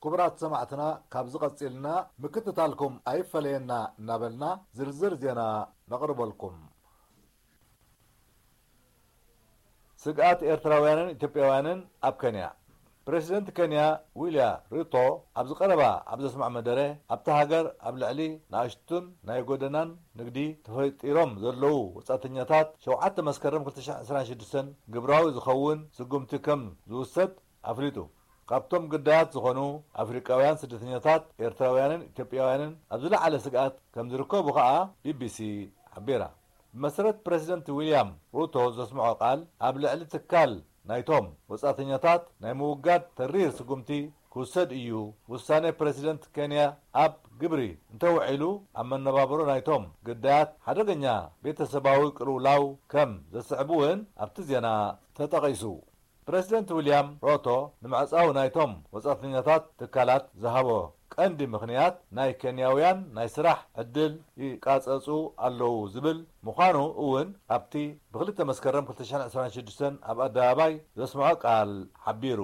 ክቡራት ሰማዕትና፣ ካብዚ ቀጺልና ምክትታልኩም ኣይፈለየና እናበልና ዝርዝር ዜና ነቕርበልኩም። ስግኣት ኤርትራውያንን ኢትዮጵያውያንን ኣብ ኬንያ። ፕረሲደንት ኬንያ ዊልያ ሩቶ ኣብዚ ቀረባ ኣብ ዘስምዖ መደረ፣ ኣብታ ሃገር ኣብ ልዕሊ ንኣሽቱን ናይ ጎደናን ንግዲ ተፈጢሮም ዘለዉ ወጻእተኛታት ሸውዓተ መስከረም ክልተ ሽሕን ዕስራን ሽዱሽተን ግብራዊ ዝኸውን ስጉምቲ ከም ዝውሰድ ኣፍሊጡ። ካብቶም ግዳያት ዝኾኑ ኣፍሪቃውያን ስደተኛታት፣ ኤርትራውያንን ኢትዮጵያውያንን ኣብ ዝለዓለ ስግኣት ከም ዝርከቡ ከኣ ቢቢሲ ሓቢራ። ብመሰረት ፕረሲደንት ዊልያም ሩቶ ዘስምዖ ቃል፣ ኣብ ልዕሊ ትካል ናይቶም ወጻእተኛታት ናይ ምውጋድ ተሪር ስጉምቲ ክውሰድ እዩ። ውሳኔ ፕረሲደንት ኬንያ ኣብ ግብሪ እንተውዒሉ፣ ኣብ መነባብሮ ናይቶም ግዳያት ሓደገኛ ቤተሰባዊ ቅልውላው ከም ዘስዕብ እውን ኣብቲ ዜና ተጠቒሱ። ፕረሲደንት ዊልያም ሮቶ ንምዕጻው ናይቶም ወጻእተኛታት ትካላት ዝሃቦ ቀንዲ ምኽንያት፣ ናይ ኬንያውያን ናይ ስራሕ ዕድል ይቃጸጹ ኣለዉ ዝብል ምዃኑ እውን ኣብቲ ብክልተ መስከረም ክልተ ሽሕን ዕስራን ሽዱሽተን ኣብ ኣደባባይ ዘስምዖ ቃል ሓቢሩ።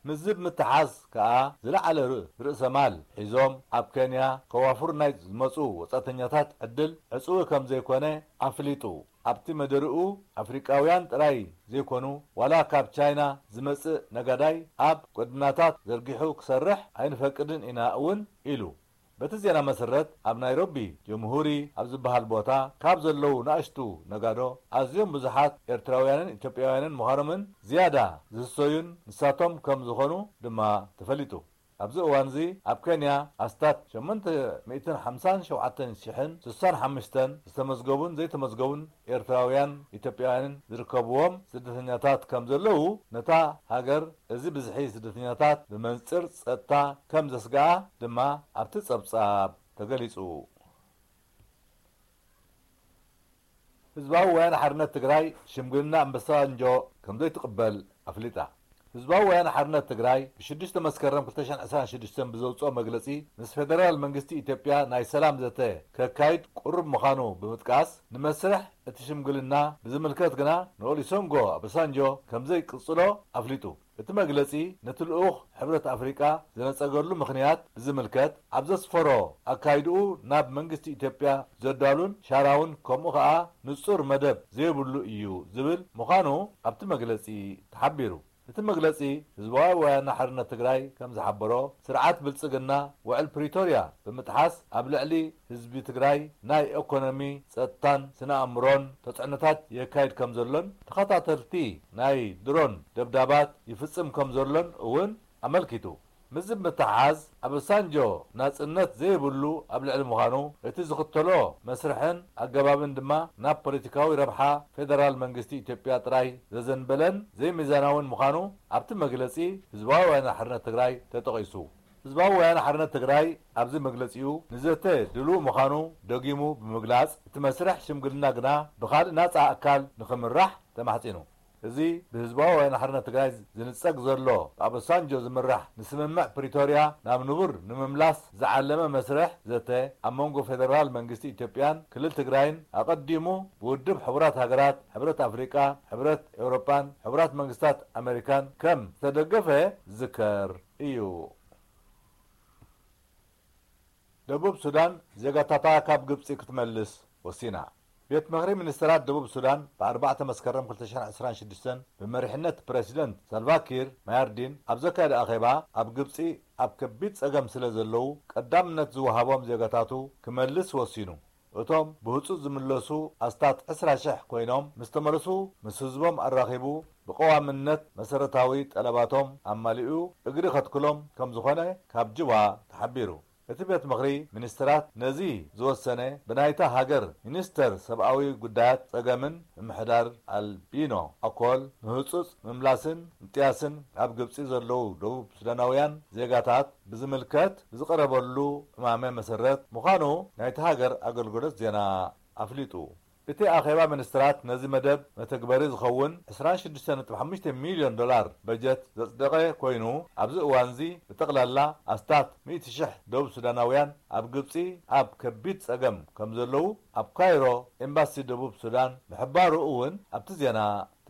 ምስዚ ብምትሓዝ ከኣ ዝለዓለ ር-፣ ርእሰ ማል ሒዞም ኣብ ኬንያ ከዋፍሩ ናይ ዝመጹ ወጻእተኛታት ዕድል ዕጹው ከም ዘይኮነ ኣፍሊጡ። ኣብቲ መደርኡ ኣፍሪቃውያን ጥራይ ዘይኮኑ፣ ዋላ ካብ ቻይና ዝመጽእ ነጋዳይ ኣብ ጎደናታት ዘርጊሑ ክሰርሕ ኣይንፈቅድን ኢና እውን ኢሉ። በቲ ዜና መሰረት፣ ኣብ ናይሮቢ ጀምሁሪ ኣብ ዝበሃል ቦታ ካብ ዘለዉ ንኣሽቱ ነጋዶ ኣዝዮም ብዙሓት ኤርትራውያንን ኢትዮጵያውያንን ምዃኖምን ዝያዳ ዝህሰዩን ንሳቶም ከም ዝኾኑ ድማ ተፈሊጡ። ኣብዚ እዋንዚ ኣብ ኬንያ ኣስታት ሸሞንተ ሚእትን ሓምሳን ሸውዓተን ሽሕን ስሳን ሓሙሽተን ዝተመዝገቡን ዘይተመዝገቡን ኤርትራውያን ኢትዮጵያውያንን ዝርከብዎም ስደተኛታት ከም ዘለዉ፣ ነታ ሃገር እዚ ብዝሒ ስደተኛታት ብመንጽር ጸጥታ ከም ዘስግኣ ድማ ኣብቲ ጸብጻብ ተገሊጹ። ህዝባዊ ወያነ ሓርነት ትግራይ ሽምግልና ኣምባሳንጆ ከም ዘይትቕበል ኣፍሊጣ። ህዝባዊ ወያነ ሓርነት ትግራይ ብሽዱሽተ መስከረም ክልተ ሽሕን ዕስራን ሽዱሽተን ብዘውፅኦ መግለፂ፣ ምስ ፌደራል መንግስቲ ኢትዮጵያ ናይ ሰላም ዘተ ከካይድ ቅሩብ ምዃኑ ብምጥቃስ፣ ንመስርሕ እቲ ሽምግልና ብዝምልከት ግና ንኦሉሰንጎ ኣባሳንጆ ከም ዘይቅፅሎ ኣፍሊጡ። እቲ መግለጺ ነቲ ልኡኽ ሕብረት ኣፍሪቃ ዝነጸገሉ ምኽንያት ብዝምልከት፣ ኣብ ዘስፈሮ ኣካይድኡ ናብ መንግስቲ ኢትዮጵያ ዘዳሉን ሻራውን ከምኡ ኸኣ ንጹር መደብ ዘይብሉ እዩ ዝብል ምዃኑ ኣብቲ መግለጺ ተሓቢሩ። እቲ መግለጺ፣ ህዝባዊ ወያነ ሓርነት ትግራይ ከም ዝሓበሮ፣ ስርዓት ብልጽግና ውዕል ፕሪቶርያ ብምጥሓስ ኣብ ልዕሊ ህዝቢ ትግራይ ናይ ኢኮኖሚ፣ ጸጥታን ስነ ኣእምሮን ተጽዕኖታት የካይድ ከም ዘሎን ተኸታተልቲ ናይ ድሮን ደብዳባት ይፍጽም ከም ዘሎን እውን ኣመልኪቱ። ምስዚ ብምትሓሓዝ፣ ኣባሳንጆ ናጽነት ዘይብሉ ኣብ ልዕሊ ምዃኑ፣ እቲ ዝኽተሎ መስርሕን ኣገባብን ድማ ናብ ፖለቲካዊ ረብሓ ፌደራል መንግስቲ ኢትዮጵያ ጥራይ ዘዘንበለን ዘይሚዛናውን ምዃኑ ኣብቲ መግለጺ ህዝባዊ ወያነ ሓርነት ትግራይ ተጠቒሱ። ህዝባዊ ወያነ ሓርነት ትግራይ ኣብዚ መግለጺኡ ንዘተ ድሉው ምዃኑ ደጊሙ ብምግላጽ፣ እቲ መስርሕ ሽምግልና ግና ብኻልእ ናጻ ኣካል ንኽምራሕ ተማሕጺኑ። እዚ ብህዝባዊ ወያነ ሓርነት ትግራይ ዝንጸግ ዘሎ ብኣባሳንጆ ዝምራሕ ንስምምዕ ፕሪቶርያ ናብ ንቡር ንምምላስ ዝዓለመ መስርሕ ዘተ ኣብ መንጎ ፌደራል መንግስቲ ኢትዮጵያን ክልል ትግራይን ኣቐዲሙ ብውድብ ሕቡራት ሃገራት፣ ሕብረት ኣፍሪቃ፣ ሕብረት ኤውሮጳን ሕቡራት መንግስታት ኣሜሪካን ከም ዝተደገፈ ዝዝከር እዩ። ደቡብ ሱዳን ዜጋታታ ካብ ግብጺ ክትመልስ ወሲና። ቤት ምኽሪ ሚኒስተራት ደቡብ ሱዳን ብኣርባዕተ መስከረም ክልተ ሽሕን ዕስራን ሽዱሽተን ብመሪሕነት ፕረሲደንት ሳልቫ ኪር ማያርዲን ኣብ ዘካየደ ኣኼባ፣ ኣብ ግብጺ ኣብ ከቢድ ጸገም ስለ ዘለዉ ቀዳምነት ዝወሃቦም ዜጋታቱ ክመልስ ወሲኑ። እቶም ብህጹጽ ዝምለሱ ኣስታት ዕስራ ሽሕ ኮይኖም፣ ምስ ተመለሱ ምስ ህዝቦም ኣራኺቡ ብቐዋምነት መሰረታዊ ጠለባቶም ኣማሊኡ እግሪ ከትክሎም ከም ዝኾነ ካብ ጁባ ተሓቢሩ። እቲ ቤት ምኽሪ ሚኒስትራት ነዚ ዝወሰነ ብናይታ ሃገር ሚኒስተር ሰብኣዊ ጉዳያት ጸገምን ምምሕዳር ኣልቢኖ ኣኮል ንህጹጽ ምምላስን ምጥያስን ኣብ ግብጺ ዘለዉ ደቡብ ሱዳናውያን ዜጋታት ብዝምልከት ብዝቐረበሉ እማመ መሰረት ምዃኑ ናይቲ ሃገር ኣገልግሎት ዜና ኣፍሊጡ። እቲ ኣኼባ ሚኒስትራት ነዚ መደብ መተግበሪ ዝኸውን ዕስራን ሽዱሽተ ነጥቢ ሓሙሽተ ሚልዮን ዶላር በጀት ዘጽደቐ ኮይኑ፣ ኣብዚ እዋንዚ ብጠቕላላ ኣስታት ሚእቲ ሽሕ ደቡብ ሱዳናውያን ኣብ ግብጺ ኣብ ከቢድ ጸገም ከም ዘለዉ ኣብ ካይሮ ኤምባሲ ደቡብ ሱዳን ምሕባሩ እውን ኣብቲ ዜና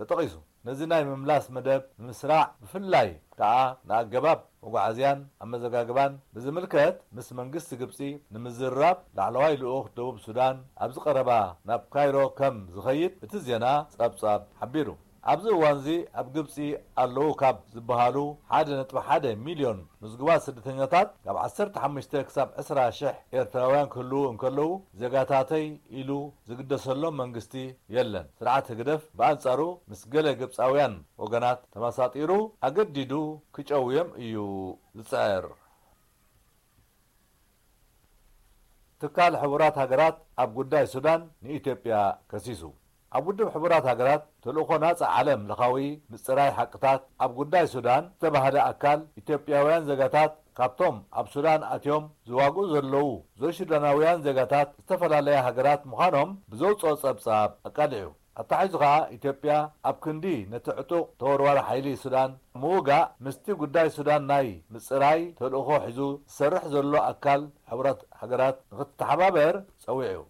ተጠቒሱ። ነዚ ናይ ምምላስ መደብ ንምስራዕ፣ ብፍላይ ከኣ ንኣገባብ መጓዓዝያን ኣመዘጋግባን ብዝምልከት ምስ መንግስቲ ግብጺ ንምዝርራብ ላዕለዋይ ልኡኽ ደቡብ ሱዳን ኣብዚ ቀረባ ናብ ካይሮ ከም ዝኸይድ እቲ ዜና ጸብጻብ ሓቢሩ። ኣብዚ እዋንዚ ኣብ ግብጺ ኣለዉ ካብ ዝበሃሉ ሓደ ነጥቢ ሓደ ሚልዮን ምዝጉባት ስደተኛታት ካብ ዓሰርተ ሓሙሽተ ክሳብ ዕስራ ሽሕ ኤርትራውያን ክህልዉ እንከለዉ፣ ዜጋታተይ ኢሉ ዝግደሰሎም መንግስቲ የለን። ስርዓት ህግደፍ ብኣንጻሩ ምስ ገለ ግብጻውያን ወገናት ተመሳጢሩ ኣገዲዱ ክጨውዮም እዩ ዝጽዕር። ትካል ሕቡራት ሃገራት ኣብ ጉዳይ ሱዳን ንኢትዮጵያ ከሲሱ። ኣብ ውድብ ሕቡራት ሃገራት ተልእኾ ናጻ ዓለም ለኻዊ ምጽራይ ሓቅታት ኣብ ጉዳይ ሱዳን ዝተባህለ ኣካል፣ ኢትዮጵያውያን ዜጋታት ካብቶም ኣብ ሱዳን ኣትዮም ዝዋግኡ ዘለዉ ዘይሱዳናውያን ዜጋታት ዝተፈላለያ ሃገራት ምዃኖም ብዘውጽኦ ጸብጻብ ኣቃሊዑ። ኣተሓሒዙ ከኣ፣ ኢትዮጵያ ኣብ ክንዲ ነቲ ዕጡቕ ተወርዋሪ ሓይሊ ሱዳን ምውጋእ፣ ምስቲ ጉዳይ ሱዳን ናይ ምጽራይ ተልእኾ ሒዙ ዝሰርሕ ዘሎ ኣካል ሕቡራት ሃገራት ንኽትተሓባበር ጸዊዑ።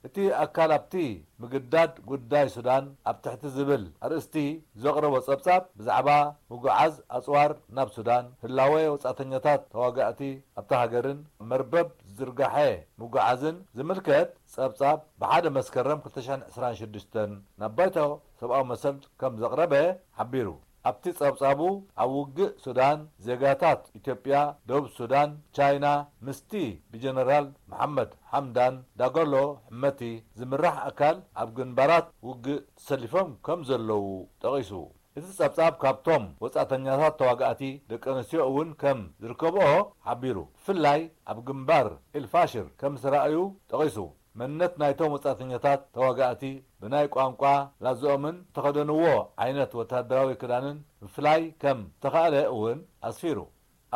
እቲ ኣካል ኣብቲ ምግዳድ ጉዳይ ሱዳን ኣብ ትሕቲ ዝብል ኣርእስቲ ዘቕረቦ ጸብጻብ፣ ብዛዕባ ምጉዓዝ ኣጽዋር ናብ ሱዳን፣ ህላወ ወጻእተኛታት ተዋጋእቲ ኣብታ ሃገርን መርበብ ዝርጋሐ ምጉዓዝን ዝምልከት ጸብጻብ ብሓደ መስከረም ክልተ ሽሕን ዕስራን ሽዱሽተን ናብ ባይቶ ሰብኣዊ መሰል ከም ዘቕረበ ሓቢሩ። ኣብቲ ጸብጻቡ፣ ኣብ ውግእ ሱዳን ዜጋታት ኢትዮጵያ፣ ደቡብ ሱዳን፣ ቻይና ምስቲ ብጀነራል መሓመድ ሓምዳን ዳጋሎ ሕመቲ ዝምራሕ ኣካል ኣብ ግንባራት ውግእ ተሰሊፎም ከም ዘለዉ ጠቒሱ። እቲ ጸብጻብ ካብቶም ወጻእተኛታት ተዋጋእቲ ደቂ ኣንስትዮ እውን ከም ዝርከብኦ ሓቢሩ። ብፍላይ ኣብ ግንባር ኤልፋሽር ከም ዝተራእዩ ጠቒሱ። መንነት ናይቶም ወጻእተኛታት ተዋጋእቲ ብናይ ቋንቋ ላዝኦምን ዝተኸደንዎ ዓይነት ወተሃደራዊ ክዳንን ምፍላይ ከም ዝተኻእለ እውን ኣስፊሩ።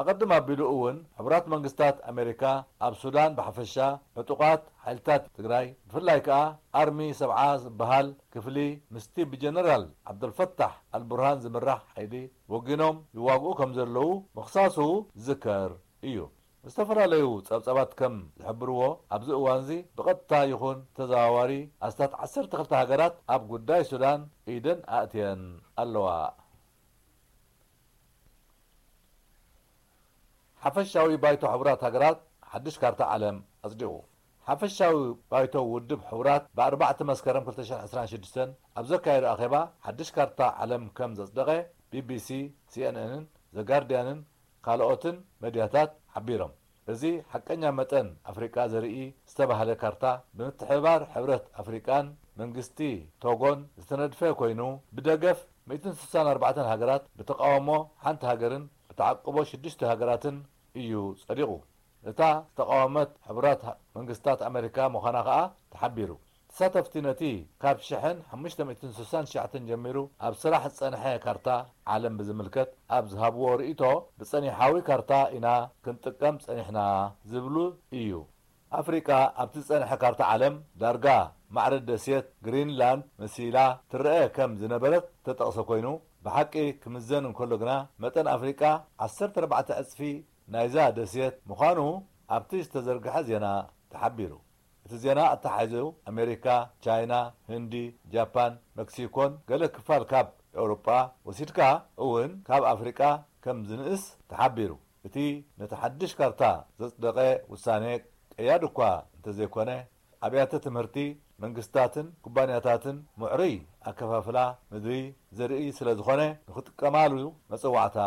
ኣቐድም ኣቢሉ እውን ሕቡራት መንግስታት ኣሜሪካ ኣብ ሱዳን ብሓፈሻ፣ ዕጡቓት ሓይልታት ትግራይ ብፍላይ ከኣ ኣርሚ ሰብዓ ዝበሃል ክፍሊ ምስቲ ብጀነራል ዓብደልፈታሕ ኣልቡርሃን ዝምራሕ ሓይሊ ወጊኖም ይዋግኡ ከም ዘለዉ ምኽሳሱ ዝዝከር እዩ። ዝተፈላለዩ ጸብጻባት ከም ዝሕብርዎ፣ ኣብዚ እዋንዚ ብቐጥታ ይኹን ተዘዋዋሪ ኣስታት ዓሰርተ ክልተ ሃገራት ኣብ ጉዳይ ሱዳን ኢደን ኣእትየን ኣለዋ። ሓፈሻዊ ባይቶ ሕቡራት ሃገራት ሓድሽ ካርታ ዓለም ኣጽዲቑ። ሓፈሻዊ ባይቶ ውድብ ሕቡራት ብኣርባዕተ መስከረም ክልተ ሽሕን ዕስራን ሽዱሽተን ኣብ ዘካየዶ ኣኼባ፣ ሓድሽ ካርታ ዓለም ከም ዘጽደቐ ቢቢሲ፣ ሲኤንኤንን ዘጋርድያንን ካልኦትን መድያታት ሓቢሮም። እዚ ሓቀኛ መጠን ኣፍሪቃ ዘርኢ ዝተባህለ ካርታ፣ ብምትሕብባር ሕብረት ኣፍሪቃን መንግስቲ ቶጎን ዝተነድፈ ኮይኑ፣ ብደገፍ ሚእትን ስሳን ኣርባዕተን ሃገራት፣ ብተቓውሞ ሓንቲ ሃገርን ብተዓቅቦ ሽዱሽተ ሃገራትን እዩ ጸዲቑ። እታ ዝተቓወመት ሕቡራት መንግስታት ኣመሪካ ምዃና ከኣ ተሓቢሩ። ተሳተፍቲ ነቲ ካብ ሽሕን ሓሙሽተ ሚእትን ስሳን ትሽዓተን ጀሚሩ ኣብ ስራሕ ዝጸንሐ ካርታ ዓለም ብዝምልከት ኣብ ዝሃብዎ ርእይቶ፣ ብጸኒሓዊ ካርታ ኢና ክንጥቀም ጸኒሕና ዝብሉ እዩ። ኣፍሪቃ ኣብቲ ዝጸንሐ ካርታ ዓለም ዳርጋ ማዕረ ደሴት ግሪንላንድ መሲላ ትረአ ከም ዝነበረት ዝተጠቕሰ ኮይኑ፣ ብሓቂ ክምዘን እንከሎ ግና፣ መጠን ኣፍሪቃ ዓሰርተ ኣርባዕተ ዕጽፊ ናይዛ ደሴት ምዃኑ ኣብቲ ዝተዘርግሐ ዜና ተሓቢሩ። እቲ ዜና ኣተሓሒዙ፣ ኣሜሪካ፣ ቻይና፣ ህንዲ፣ ጃፓን፣ መክሲኮን ገለ ክፋል ካብ ኤውሮጳ ወሲድካ እውን ካብ ኣፍሪቃ ከም ዝንእስ ተሓቢሩ። እቲ ነቲ ሓድሽ ካርታ ዘጽደቐ ውሳኔ ቀያዲ እኳ እንተዘይኮነ፣ ኣብያተ ትምህርቲ፣ መንግስታትን ኩባንያታትን ምዕሩይ ኣከፋፍላ ምድሪ ዘርኢ ስለ ዝኾነ፣ ንኽጥቀማሉ መጸዋዕታ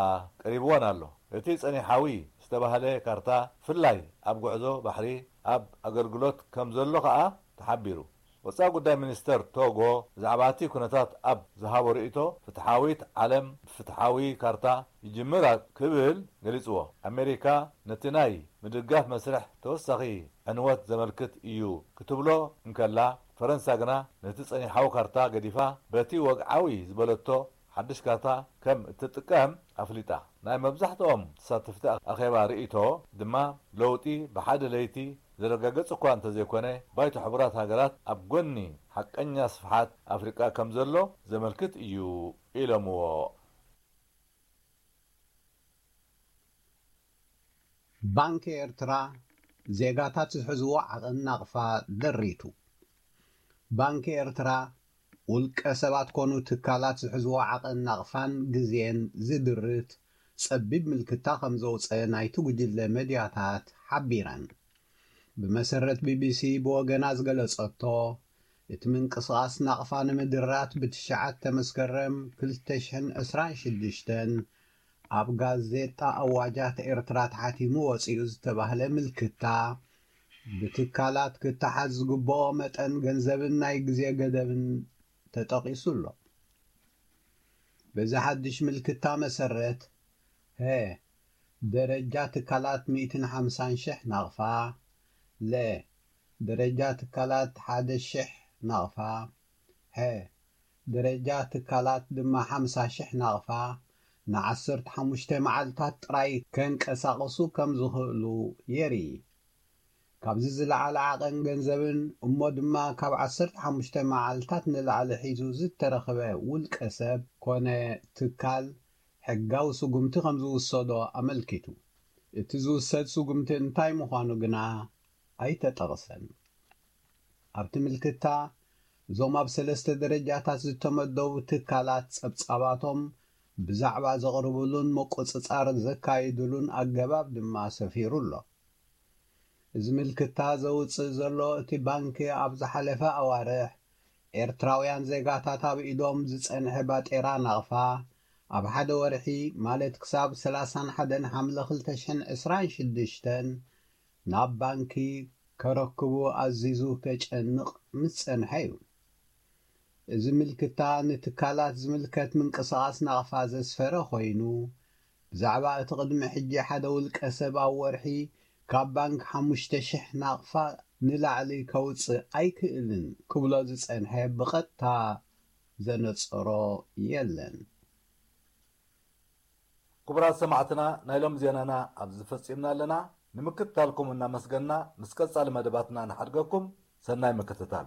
ቀሪብወን ኣሎ። እቲ ጸኒሓዊ ዝተባህለ ካርታ፣ ብፍላይ ኣብ ጉዕዞ ባሕሪ ኣብ ኣገልግሎት ከም ዘሎ ከኣ ተሓቢሩ። ወጻኢ ጉዳይ ሚኒስተር ቶጎ ብዛዕባ እቲ ኩነታት ኣብ ዝሃቦ ርእይቶ፣ ፍትሓዊት ዓለም ብፍትሓዊ ካርታ ይጅምር ክብል ገሊጽዎ። ኣሜሪካ ነቲ ናይ ምድጋፍ መስርሕ ተወሳኺ ዕንወት ዘመልክት እዩ ክትብሎ እንከላ፣ ፈረንሳ ግና ነቲ ጸኒሓዊ ካርታ ገዲፋ፣ በቲ ወግዓዊ ዝበለቶ ሓድሽ ካርታ ከም እትጥቀም ኣፍሊጣ። ናይ መብዛሕትኦም ተሳተፍቲ ኣኼባ ርእይቶ ድማ፣ ለውጢ ብሓደ ለይቲ ዝረጋገጽ እኳ እንተዘይኮነ፣ ባይቶ ሕቡራት ሃገራት ኣብ ጎኒ ሓቀኛ ስፍሓት ኣፍሪቃ ከም ዘሎ ዘመልክት እዩ ኢሎምዎ። ባንኪ ኤርትራ ዜጋታት ዝሕዝዎ ዓቐን ናቕፋ ደሪቱ። ባንኪ ኤርትራ ውልቀ ሰባት ኮኑ ትካላት ዝሕዝዎ ዓቐን ናቕፋን ግዜን ዝድርት፣ ጸቢብ ምልክታ ከም ዘውጸ ናይቲ ጉጅለ መድያታት ሓቢረን። ብመሰረት ቢቢሲ ብወገና ዝገለጸቶ፣ እቲ ምንቅስቓስ ናቕፋ ንምድራት ብትሽዓተ መስከረም ክልተ ሽሕን ዕስራን ሽዱሽተን ኣብ ጋዜጣ ኣዋጃት ኤርትራ ተሓቲሙ ወጺኡ ዝተባህለ ምልክታ፣ ብትካላት ክተሓዝ ዝግብኦ መጠን ገንዘብን ናይ ግዜ ገደብን ተጠቒሱ ኣሎ። በዚ ሓድሽ ምልክታ መሰረት፣ ሀ፣ ደረጃ ትካላት ሚእትን ሓምሳን ሽሕ ናቕፋ፣ ለ፣ ደረጃ ትካላት ሓደ ሽሕ ናቕፋ፣ ሐ፣ ደረጃ ትካላት ድማ ሓምሳ ሽሕ ናቕፋ ንዓሰርተ ሓሙሽተ መዓልታት ጥራይ ከንቀሳቕሱ ከም ዝኽእሉ የርኢ። ካብዚ ዝለዓለ ዓቐን ገንዘብን እሞ ድማ ካብ ዓሰርተ ሓሙሽተ መዓልታት ንላዕሊ ሒዙ ዝተረኽበ ውልቀ ሰብ ኮነ ትካል ሕጋዊ ስጉምቲ ከም ዝውሰዶ ኣመልኪቱ። እቲ ዝውሰድ ስጉምቲ እንታይ ምዃኑ ግና ኣይተጠቕሰን። ኣብቲ ምልክታ፣ እዞም ኣብ ሰለስተ ደረጃታት ዝተመደቡ ትካላት ጸብጻባቶም ብዛዕባ ዘቕርብሉን ምቁጽጻር ዘካይድሉን ኣገባብ ድማ ሰፊሩ ኣሎ። እዚ ምልክታ ዘውጽእ ዘሎ እቲ ባንኪ ኣብ ዝሓለፈ ኣዋርሕ ኤርትራውያን ዜጋታት ኣብ ኢዶም ዝጸንሐ ባጤራ ናቕፋ ኣብ ሓደ ወርሒ ማለት ክሳብ ሰላሳን ሓደን ሓምለ ክልተ ሽሕን ዕስራን ሽዱሽተን ናብ ባንኪ ከረክቡ ኣዚዙ ከጨንቕ ምስ ጸንሐ እዩ። እዚ ምልክታ ንትካላት ዝምልከት ምንቅስቓስ ናቕፋ ዘስፈረ ኮይኑ፣ ብዛዕባ እቲ ቅድሚ ሕጂ ሓደ ውልቀ ሰብ ኣብ ወርሒ ካብ ባንክ ሓሙሽተ ሽሕ ናቕፋ ንላዕሊ ከውጽእ ኣይክእልን ክብሎ ዝጸንሐ ብቐጥታ ዘነጸሮ የለን። ክቡራት ሰማዕትና፣ ናይ ሎም ዜናና ኣብዚ ፈጺምና ኣለና። ንምክትታልኩም እናመስገንና፣ ምስ ቀጻሊ መደባትና ንሓድገኩም። ሰናይ ምክትታል።